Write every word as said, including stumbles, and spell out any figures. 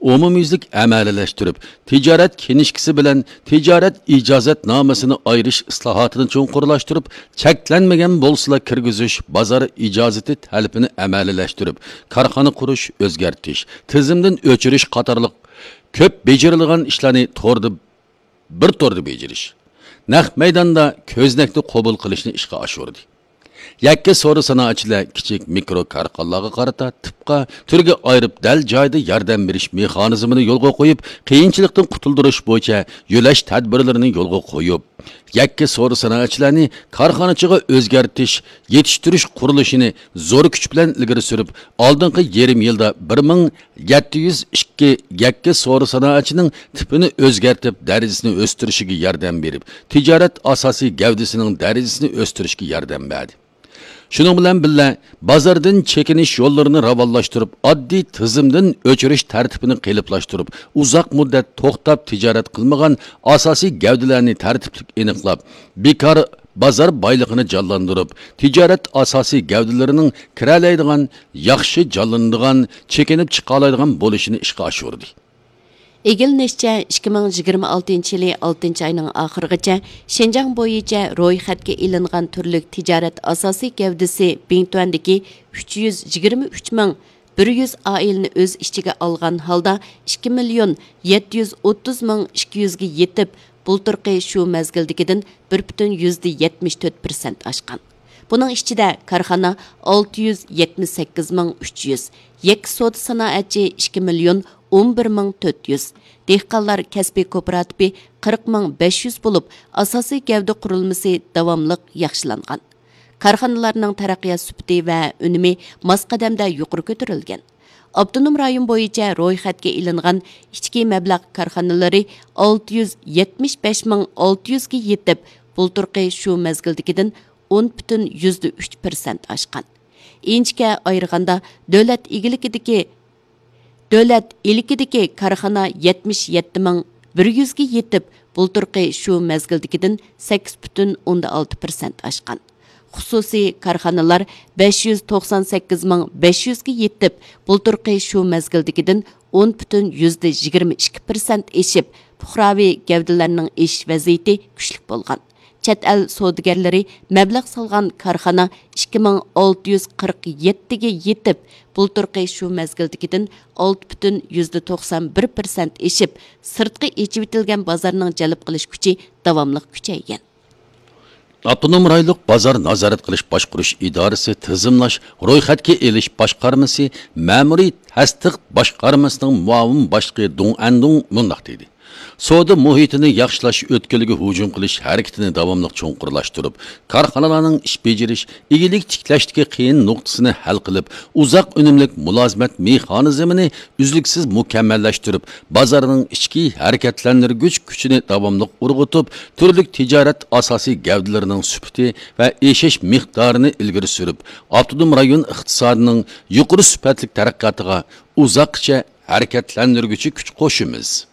ئومۇميۈزلۈك ئەمەلىيلەشتۈرۈپ، تىجارەت كىنىشكىسى بىلەن تىجارەت ئىجازەتنامىسىنى ئايرىش ئىسلاھاتىنى چوڭقۇرلاشتۇرۇپ، چەكلەنمىگەن بولسىلا كىرگۈزۈش بازار ئىجازىتى تەلىپىنى ئەمەلىيلەشتۈرۈپ، كارخانا قۇرۇش، ئۆزگەرتىش، تىزىمدىن ئۆچۈرۈش قاتارلىق كۆپ بېجىرىلىدىغان ئىشلارنى توردا بىر توردا بېجىرىش، نەق مەيداندا كۆزنەكنى قوبۇل قىلىشنى ئىشقا ئاشۇردى. يەككە سودا سانائەتچىلەر كىچىك مىكرو كارخانىلارغا قارىتا تىپقا تۈرگە ئايرىپ، دەل جايىدا ياردەم بېرىش مېخانىزمىنى يولغا قويۇپ، قىيىنچىلىقتىن قۇتۇلدۇرۇش بويىچە يۆلەش تەدبىرلىرىنى يولغا قويۇپ، يەككە سودا سانائەتچىلەرنى كارخانىچىغا ئۆزگەرتىش، يېتىشتۈرۈش قۇرۇلۇشىنى زور كۈچ بىلەن ئىلگىرى سۈرۈپ، ئالدىنقى يېرىم يىلدا بىر مىڭ يەتتە يۈز ئىككى يەككە سودا سانائەتچىنىڭ تىپىنى ئۆزگەرتىپ، دەرىجىسىنى ئۆستۈرۈشىگە ياردەم بېرىپ، تىجارەت ئاساسىي گەۋدىسىنىڭ دەرىجىسىنى ئۆستۈرۈشكە ياردەم بەردى. شۇنىڭ بىلەن بىللە، بازاردىن چېكىنىش يوللىرىنى راۋانلاشتۇرۇپ، ئاددىي تىزىمدىن ئۆچۈرۈش تەرتىپىنى قېلىپلاشتۇرۇپ، ئۇزاق مۇددەت توختاپ تىجارەت قىلمىغان ئاساسىي گەۋدىلەرنى تەرتىپلىك ئېنىقلاپ، بىكار بازار بايلىقىنى جانلاندۇرۇپ، تىجارەت ئاساسىي گەۋدىلىرىنىڭ كىرەلەيدىغان، ياخشى جانلىنىدىغان، چېكىنىپ چىقالايدىغان بولۇشىنى ئىشقا ئاشۇردى. ئىگىلىنىشىچە، ئىككى مىڭ يىگىرمە ئالتىنچى يىلى ئالتىنچى ئاينىڭ ئاخىرىغىچە شىنجاڭ بويىچە رويخەتكە ئېلىنغان تۈرلۈك تىجارەت ئاساسىي گەۋدىسى بىڭتۈەندىكى ئۈچ يۈز يىگىرمە ئۈچ مىڭ بىر يۈز ئائىلىنى ئۆز ئىچىگە ئالغان ھالدا ئىككى مىليون يەتتە يۈز ئوتتۇز مىڭ ئىككى يۈزگە يېتىپ، بۇلتۇرقى شۇ مەزگىلدىكىدىن بىر پۈتۈن يۈزدە يەتمىش تۆت پىرسەنت ئاشقان. بۇنىڭ ئىچىدە كارخانا ئالتە يۈز يەتمىش سەككىز مىڭ ئۈچ يۈز، يەككە سودا سانائەتچى ئىككى مىليون ئون بىر مىڭ تۆت يۈز، دېھقانلار كەسپىي كوپىراتىپى قىرىق مىڭ بەش يۈز بولۇپ، ئاساسىي گەۋدە قۇرۇلمىسى داۋاملىق ياخشىلانغان. كارخانىلارنىڭ تەرەققىيات سۈپىتى ۋە ئۈنۈمى ماس قەدەمدە يۇقىرى كۆتۈرۈلگەن. ئاپتونوم رايون بويىچە رويخەتكە ئېلىنغان ئىچكى مەبلەغ كارخانىلىرى ئالتە يۈز يەتمىش بەش مىڭ ئالتە يۈزگە يېتىپ، بۇلتۇرقى شۇ مەزگىلدىكىدىن ئون پۈتۈن يۈزدە ئۈچ پىرسەنت ئاشقان. ئىنچىكە ئايرىغاندا، دۆلەت ئىگىلىكىدىكى دۆلەت ئىلكىدىكى كارخانا يەتمىش يەتتە مىڭ بىر يۈزگە يېتىپ، بۇلتۇرقى شۇ مەزگىلدىكىدىن سەككىز پۈتۈن ئوندىن ئالتە پىرسەنت ئاشقان. خۇسۇسىي كارخانىلار بەش يۈز توقسان سەككىز مىڭ بەش يۈزگە يېتىپ، بۇلتۇرقى شۇ مەزگىلدىكىدىن ئون پۈتۈن يۈزدە يىگىرمە ئىككى پىرسەنت ئېشىپ، پۇقراۋى گەۋدىلەرنىڭ ئېشىش ۋەزىيىتى كۈچلۈك بولغان. چەت ئەل سودىگەرلىرى مەبلەغ سالغان كارخانا ئىككى مىڭ ئالتە يۈز قىرىق يەتتىگە يېتىپ، بۇلتۇرقى شۇ مەزگىلدىكىدىن ئالتە پۈتۈن يۈزدە توقسان بىر پىرسەنت ئېشىپ، سىرتقى ئېچىۋېتىلگەن بازارنىڭ جەلپ قىلىش كۈچى داۋاملىق كۈچەيگەن. ئاپتونوم رايونلۇق بازار نازارەت قىلىش باشقۇرۇش ئىدارىسى تىزىملاش، رويخەتكە ئېلىش باشقارمىسى مەمۇرىي تەستىق باشقارمىسىنىڭ مۇئاۋىن باشلىقى دۇڭ ئەندۇڭ مۇنداق دېدى: سودا مۇھىتىنى ياخشىلاش ئۆتكىلىگە ھۇجۇم قىلىش ھەرىكىتىنى داۋاملىق چوڭقۇرلاشتۇرۇپ، كارخانىلارنىڭ ئىش بېجىرىش، ئىگىلىك تىكلەشتىكى قىيىن نۇقتىسىنى ھەل قىلىپ، ئۇزاق ئۈنۈملۈك مۇلازىمەت مېخانىزمىنى ئۈزلۈكسىز مۇكەممەللەشتۈرۈپ، بازارنىڭ ئىچكى ھەرىكەتلەندۈرگۈچ كۈچىنى داۋاملىق ئۇرغۇتۇپ، تۈرلۈك تىجارەت ئاساسىي گەۋدىلىرىنىڭ سۈپىتى ۋە ئېشىش مىقدارىنى ئىلگىرى سۈرۈپ، ئاپتونوم رايون ئىقتىسادىنىڭ يۇقىرى سۈپەتلىك تەرەققىياتىغا ئۇزاققىچە ھەرىكەتلەندۈرگۈچى كۈچ قوشىمىز.